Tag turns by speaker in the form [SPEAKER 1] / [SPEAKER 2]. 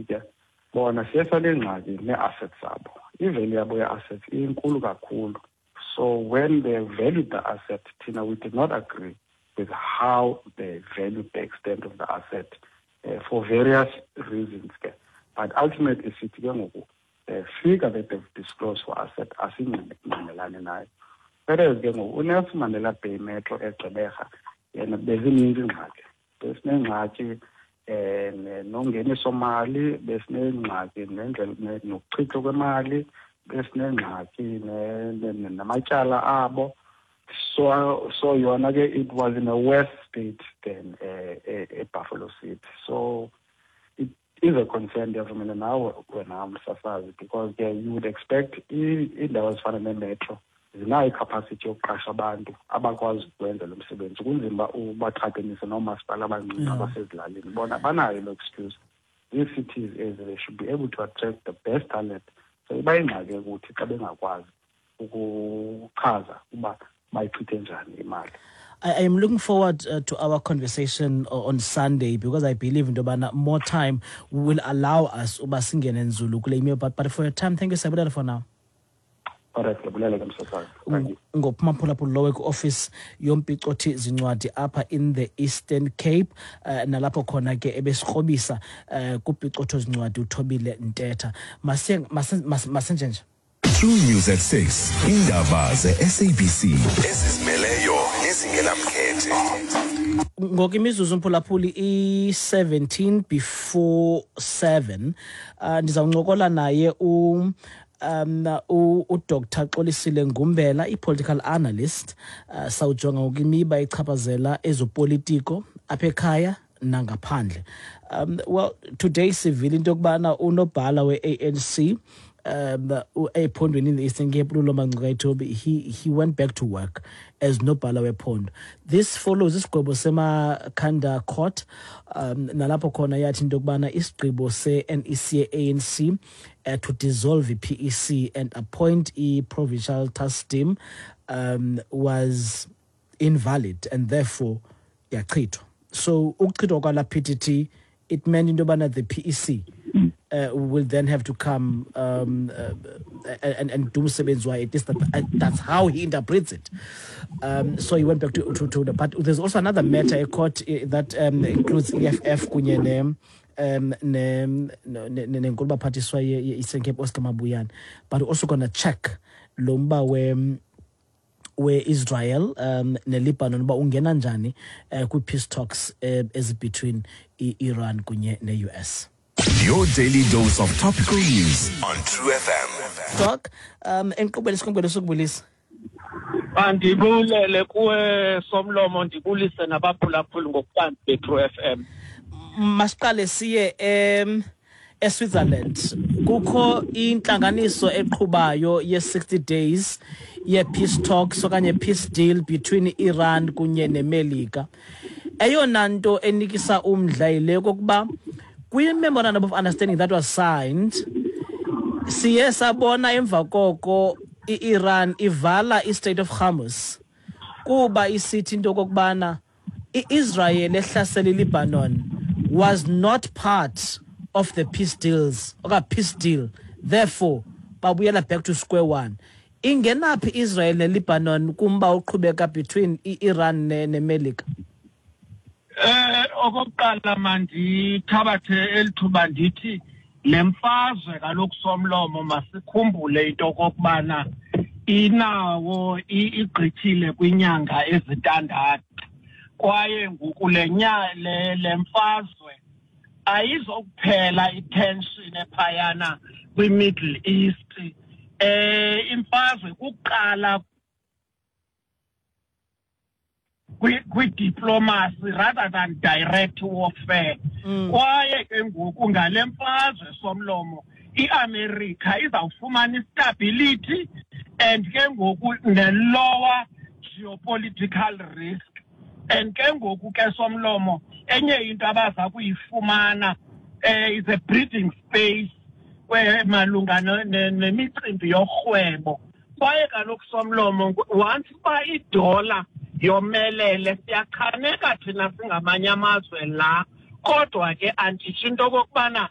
[SPEAKER 1] City ke bona siye sanengxaki nee-assets zabo. I-value yabo ye-assets inkulu kakhulu. So when they valued the asset, thina we did not agree with how they valued the extent of the asset for various reasons ke. But ultimately sithi ke ngoku the figure that they've disclosed for asset asingqinelani nayo. Whereas ke ngoku uNelson Mandela Bay Metro eGqeberha yena bezininzi iingxaki. Besinengxaki nongeniso mali, besinengxaki nendlela nokuchithwa kwemali, besinengxaki namatyala abo. So yona ke it was in a worse state than Buffalo City. So it is a concern ndiyavumela nawe wena msasazi, because ke you would expect iindawo ezifana nemetro zinayo i-capacity yokuqasha abantu abakwazi ukwenza lo msebenzi. Kunzima uba ubaxhabanise noomasipala abancinci abasezilalini, bona banayo loo excuse. These cities ezi, they should be able to attract the best talent. So iba yingxaki ukuthi xa bengakwazi ukuchaza uba bayichithe njani imali.
[SPEAKER 2] I am looking forward to our conversation on Sunday, because I believe into yobana more time will allow us uba singene nzulu kule email. But for your time, thank you, Siyabulela, for now.
[SPEAKER 1] All right, ndiyabulela ke msasazi. Thank you.
[SPEAKER 2] Ngophuma phulaphula lowo kwi-office yompicothi zincwadi apha in the Eastern Cape, nalapho khona ke ebesikrobisa kupicotho zincwadi uThobile Ntetha. Masenjenje.
[SPEAKER 3] True News at 6, indaba ze-SABC ezizimeleyo nezingenamkhethe.
[SPEAKER 2] Ngoku imizuzu mphulaphuli i-17 before 7. Ndizawuncokola naye uDr Xolisile Ngumbela, i-political analyst. Sawujonga ngokwimiba echaphazela ezopolitiko apha ekhaya nangaphandle. Well, today sivile into yokubana unobhala we-ANC ephondweni in the Eastern Cape, uLulama Ngcukaitobi, he went back to work as nobhala wephondo. This follows isigwebo seMakhanda Court, nalapho khona yathi into yokubana isigqibo se-NEC ye-ANC to dissolve i-PEC and appoint i-provincial task team was invalid and therefore yachithwa. So ukuchithwa kwala PTT, it meant into yobana the PEC will then have to come and do umsebenzi wayo. At least that's how he interprets it. So he went back to the, but there's also another matter a court that includes EFF kunye ne nenkulu baphathiswa ye-Eastern Cape Oscar Mabuyane, but also gonna check lo mba we-Israel neLebanon uba ungena njani kwi-peace talks ezi-between i-Iran kunye ne-US.
[SPEAKER 3] Your daily dose of topical news on True FM.
[SPEAKER 2] Doc, enkqubeni sikhongwele sokubulisa.
[SPEAKER 4] Mandibulele kuwe Somlomo, ndibulise nabaphulaphuli ngokubanzi be-True FM.
[SPEAKER 2] Masiqale siye eSwitzerland. Kukho intlanganiso eqhubayo ye-60 days ye-peace talks okanye peace deal between Iran kunye neMelika. Eyona nto enikisa umdla yile kokuba kwi-memorandum of understanding that was signed, siye sabona emva koko i-Iran ivala i-Strait of Hormuz kuba isithi into okokubana i-Israel ehlasela iLebanon was not part of the peace deals oka peace deal, therefore babuyela back to square one. Ingenaphi Israel neLebanon kumba uqhubeka between i-Iran neMelika?
[SPEAKER 4] Okokuqala mandithabathe elithuba ndithi le mfazwe kaloku Somlomo, masikhumbule into okokubana inawo igqithile kwinyanga ezintandathu, kwaye ngoku le mfazwe ayizokuphela itension ephayana kwi-Middle East. Imfazwe kuqala kwi-diplomacy rather than direct warfare. Kwaye ke ngoku ngale mfazwe Somlomo, iAmerica izawufumana istability and ke ngoku ne-lower geopolitical risk. And ke ngoku ke Somlomo, enye into abaza kuyifumana is a breathing space malunga nemicimbi yorhwebo. Kwaye kaloku Somlomo, once uba idola yomelele, siyachaneka thina singamanye amazwe la, kodwa ke anditsho into okokubana